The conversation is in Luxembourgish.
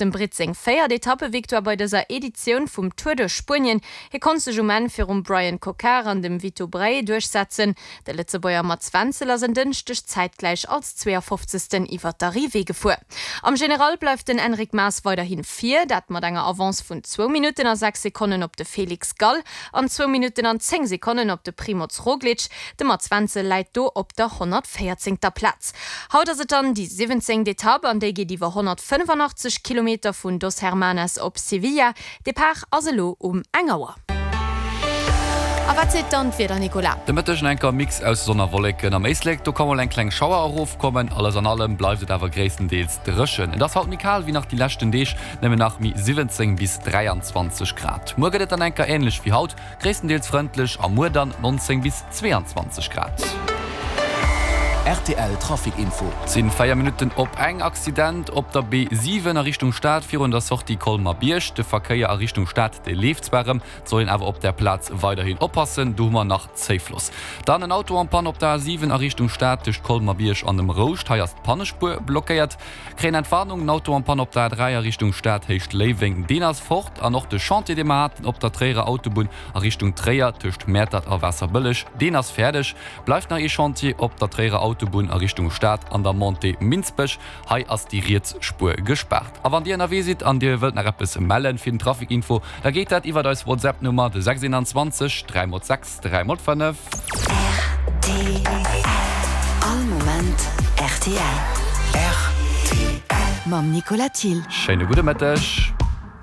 Dem Britt seng véiert Etappevictoire bei dëser Editioun vum Tour de Spuenien. Hie konnt sech um Enn virum Bryan Coquard an dem Vito Braet duerchsetzen. De Lëtzebuerger Mats Wenzel ass en Dënschdeg zäitgläich als 52. iwwer d'Arrivée gefuer. Am General bleift den Enric Mas weiderhi vir, dat mat enger Avance vun zwou Minutten a 6 Sekonnen op de Felix Gall an zwou Minutten an 10 Sekonnen op de Primoz Roglic. De Mats Wenzel läit do op der 114. Plaz. Haut ass et dann déi 17. Etapp an déi geet iwwer 185 Kilometer vun Dos Hermanas op Sevilla. Depart ass elo um eng Auer. A wat seet dann d'Wieder, Nicolas? De Mëtteg en enker Mix aus Sonn a Wolleken. Am Éislek, do ka mol eng kleng Schauer erofkommen. Alles an allem bleift et awer gréisstendeels dréchen. Et ass haut méi kal wéi nach déi leschten Deeg, nëmmen nach méi 17 bis 23 Grad. Muer gëtt et dann enker änlech wéi haut, Gréisstendeels frëndlech a muer dann 19 bis 22 Grad. Rtl Trafic Info. Et sinn 4 Minutten op eng. Accident op der B7 a Richtung Stad virun der Sortie Colmer-Bierg. De Verkéier a Richtung Stad dee leeft zwar erëm, et soll een awer op där Plaz weiderhin oppassen, do hu mer nach Zéifloss. Dann en Auto en panne op der A7 a Richtung Stad tëscht Colmer-Bierg an dem Rouscht. Hei ass d'Pannespuer blockéiert. Kréien Entwarnung, den Auto en panne op der A3 a Richtung Stad Héicht Léiweng, deen ass fort. An och de Chantier, dee mer haten op der Tréierer Autobunn a Richtung Tréier tëscht Mäertert a Waasserbëlleg, deen ass fäerdeg. Bleift nach ee Chantier op der Tréierer Autobunn a Richtung Stad an der Montée Minsbech. Hei ass déi riets Spuer gespaart. A wann Dir ënnerwee sidd an Dir wëllt nach eppes mellen fir den Trafic Info, da geet dat iwwert eis WhatsApp Nummer, de 621 3 x 6. 3 mol 5. Rtl. All Moment rtl. Rtl. Mam Nicolas Thill. Schéine gudde Mëtteg.